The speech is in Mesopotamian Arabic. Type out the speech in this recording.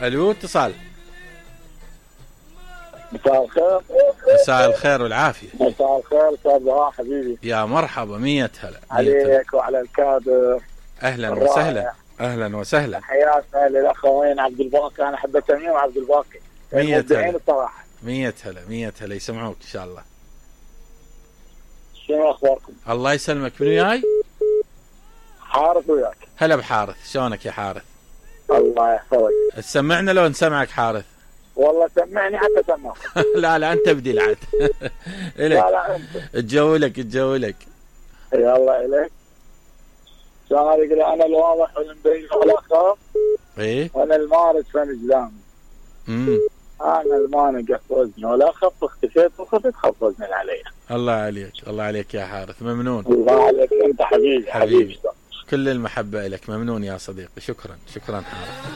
الو اتصال. مساء الخير. مساء الخير والعافيه. مساء الخير استاذ بهاء حبيبي. يا مرحبا، 100 هلا عليك وعلى الكادر. اهلا وسهلا. اهلا وسهلا. حياتنا للاخوين عبد الباقي، انا احب تميم وعبد الباقي 100 هلا الصراحه. 100 هلا 100 هلا، يسمعوك ان شاء الله. شنو اخباركم؟ الله يسلمك. من وياي؟ حارث وياك. هلا بحارث، شلونك يا حارث؟ الله يحفظك. تسمعنا لو نسمعك حارث؟ والله سمعني حتى سمعك. لا انت بدي العد. لا انت تجولك يلا اليك. شلون يقول انا الواضح والمبين ولا اخاف. ايه وانا المارد فنجلان. انا المانع قفزني ولا اخف، اختفيت وخفت خفزني علي. الله عليك، الله عليك يا حارث، ممنون. الله عليك انت حبيبي. كل المحبة لك، ممنون يا صديقي. شكرا حارث.